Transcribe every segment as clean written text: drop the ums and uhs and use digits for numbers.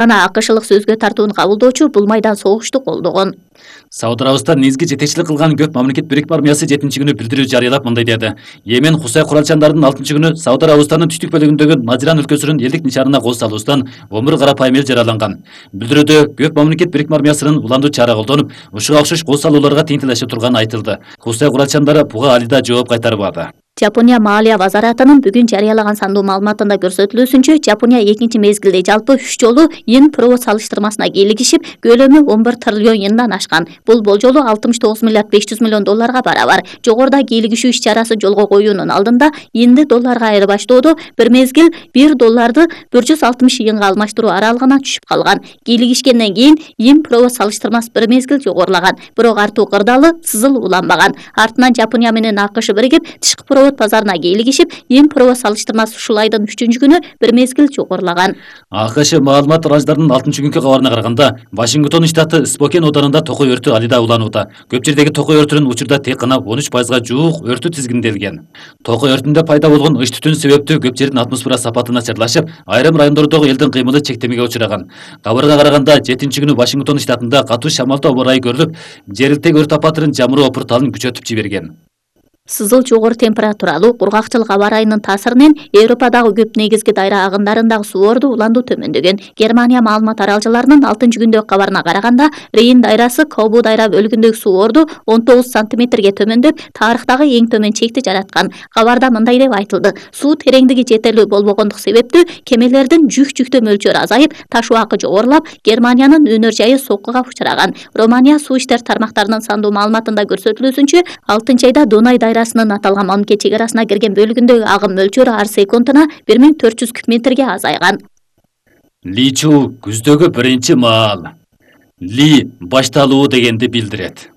Ана АКШлык сөзгө тартууну кабылдоочу бул майдан согушту колдогон. Сауд Арабистан негизги жетекчилик кылган көп мамлекет бирикме армиясы 7-күнү билдирүү жарыялап мындай деди. Йемен Хусай куралчандардын 6-күнү Сауд Арабистандын түштүк бөлүгүндөгү Наджиран өлкөсүнүн элдик нишанына кол салуусунан 11 карапайым эл жараланган. Билдирүүдө көп мамлекет бирикме армиясынын уландуу чара колдонуп, ушуга окшош кол салууларга тиңдилешип турганы айтылды. Хусай куралчандары буга алида жооп кайтарбады. Жапония Маалия вазаратынын бүгүн жарыялаган сандуу маалыматында көрсөтүлүүсүнчө, Жапония экинчи мезгилде жалпы 3 жолу йен провод салыштырмасына кийлигишип, көлөмү 11 триллион йендан ашкан. Бул болжолу 69 миллиард 500 миллион долларга барабар. Жогоруда кийлигишүү иш-чарасы жолго коюунун алдында йенди долларга айырбаштоодо бир мезгил 1 долларды 160 йенге алмаштыруу аралыгына түшүп калган. Кийлигишкенден кийин йен провод салыштырмасы бир мезгил жогорулаган, бирок артуу кырдаалы сызыл уланбаган. Артынан Жапония менен АКШ биригип тышкы провод базарына кийлигишип, йен провод салыштырмасы ушул айдын 3-күнү бир мезгил жогорулаган. АКШ маалымат радиолордун 6-күнкү кабарына караганда, Вашингтон штаты Спокен ауданында токой өртү алида уланууда. Көп жердеги токой өртүнүн учурда тек гана 13%га жуук өртү тизгинделген. Токой өртүндө пайда болгон ыч түтүн себептүү көп жердин атмосфера сапаты начарлашып, айрым райондордогу элдин кыймылы чектемеге учураган. Кабарга караганда 7-күнү Вашингтон штатында катуу шамалдуу аба ырайы көрүлүп, жергиликтеги өрт апатынын жамыроо опурталын күчөтүп жиберген. Сызыл жогору температуралуу кургакчылык аба ырайынын таасиринен Европадагы көп негизги дайра агындарын суворду уландуу төмөндөгөн. Германия маалымат аралжаларынын 6-күндөгү кабарына караганда, Рейн дайрасы Кобу дайра бөлүгүндөгү суворду 19 сантиметрге төмөндөп, тарыхтагы эң төмөн чекти жараткан. Кабарда мындай деп айтылды: суу тереңдиги жетерлүү болбогондук себептүү кемелердин жүктөө мөлчөрү азайып, таш убакы жогорулап, Германиянын өнөр жайы соккуга учураган. Романия суу иштер тармактарынын сандуу маалыматында көрсөтүлүүсүнчө, 6-айда Дунай дайрасынын аталган мамлекет чек арасына кирген бөлүгүндөгү агым мөлчөрү ар секундуна 1400 куб метрге азайган. Личу күздөгү биринчи маал. Ли башталуу дегенди билдирет.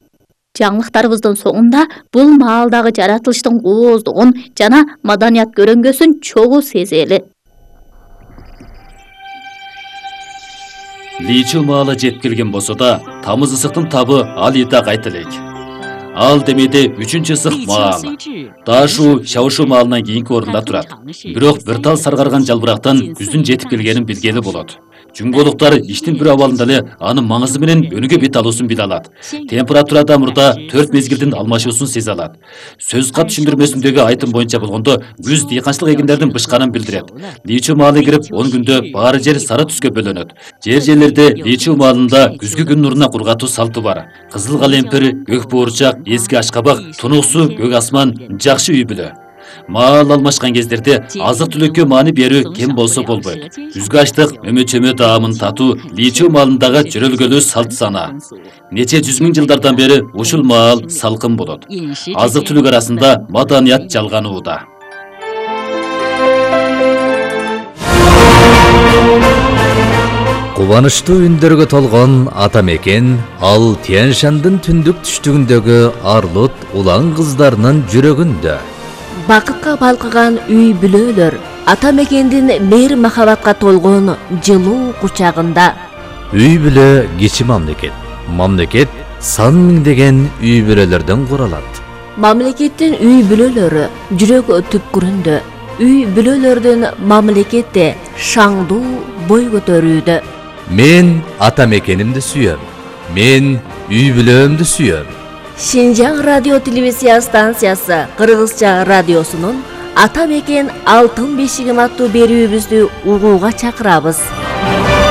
Жаңылыктарыбыздын соңунда бул маалдагы жаратылыштын ооздугун жана маданият көрөңгөсүн чогуу сезели. Личу маалы жеткилген болсо да, тамыз ысыктын табы алида кайта элек. Ал демеде 3-чү ысык маал. Дашу Шаушу маалынан кийинки орунда турат. Бирок бир тал саргарган жалбырактан күздүн жетип келгенин билгели болот. Жүнгөлуктар иштин бир абалында эле анын маңызы менен өнүгө бет алуусун биле алат. Температурада мурда 4 мезгилдин алмашуусун сезе алат. Сөз кат түшүндүрмөсүндөгү айтым боюнча болгондо, күз дыйканчылык эгиндердин бышканын билдирет. Личу маалы кирип 10 күндө баары жер сары түскө бөлөнөт. Жерлерде Личу маалында күзгү күн нуруна кургатуу салты бар. Кызыл калемпир, көк буурчак, эски ашкабак, тунуксу, көк асман жакшы үй бүлө. Маал алмашкан кездерде азык түлүккө маани берүү кем болсо болбойт. Күзгү аштык, өмө-чөмө даамын татуу Личу маалындагы жөрөлгөлүү салт сана. Нече 100 миң жылдардан бери ушул маал салкын болот. Азык түлүк арасында маданият жалганууда. Кубанычтуу үндөргө толгон ата мекен ал Тянь-Шандын түндүк түштүгүндөгү арлут улан кыздарынын жүрөгүндө. Бакытка балкыган үй бүлөлөр ата мекендин мейир махабатка толгон жылуу кучагында. Үй бүлө кичи мамлекет. Мамлекет сан миңдеген үй бүлөлөрдөн куралат. Мамлекеттин үй бүлөлөрү жүрөк түпкүрүндө. Үй бүлөлөрдүн мамлекетте шаңдуу бой көтөрүүдө. Мен ата мекенимди сүйөм. Мен үй бүлөмдү сүйөм. Шинжаң радио телевизия станциясы Кыргызча радиосунун Ата мекен алтын бешигим аттуу берүүбүздү угууга чакырабыз.